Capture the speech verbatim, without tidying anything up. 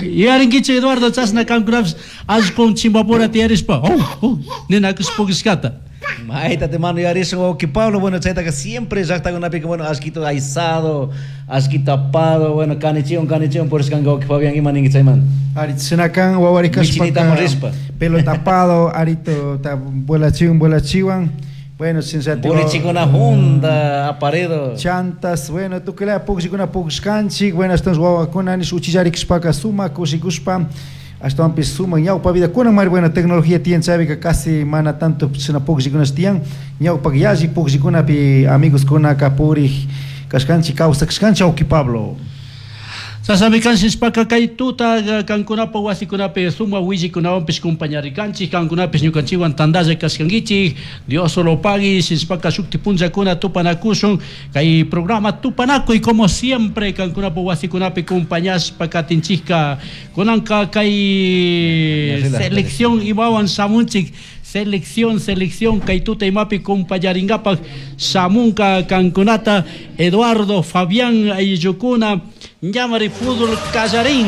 Yuyarinkichu Eduardo chashna kankunapish allqun chimbapura tiyarishpa oh, oh, ninakush pukllashkata. Mayta te mano yarisun wawqi Pablo, bueno, chaytaqa siempre llaqtakunapika, bueno, allquito aysado, allquito apado, bueno, kanichiwan kanichiwan purishkanka wawqi Fabián, ima ninki chaymanta? Ari chinakan wawari Michinitamos kashpaka rispa. pelota apado, arito ta vuelachiwan vuelachiwan. Bueno, sinchati Bolichikuna hunda, aparedo. Chantas, bueno, tukuyla pukllakuna pukllashkanchik, bueno, ashtawan wawakuna nish uchillarikushpaka sumak kushikushpa, ashtawanpish sumak ñawpa vida kunan mari, bueno, tecnología tiyan chaypika casi mana tanto chashna pukllikunash tiyan, ñawpak yalli pukllikunapi amigoskunaka purik kashkanchik, kawsakashkanchik awki Pablo. Chashnami kanshishpaka kay tuta kankunapa wasikunapi suma willikunawanpish compañarikanchik, kankunapish ñukanchikwan tandalla kashkankichik. Dios solo pagui, shishpaka shukti punllakuna tupanakushun kay programa Tupanakuy, como siempre kankunapa wasikunapi compañashpa katinchikka. Kunanka kay selección imawan shamunchik, selección, selección kay tuta imapi compañaringapak shamunka kankunata Eduardo Fabián ayllukuna. Ñamari fútbol kallarin.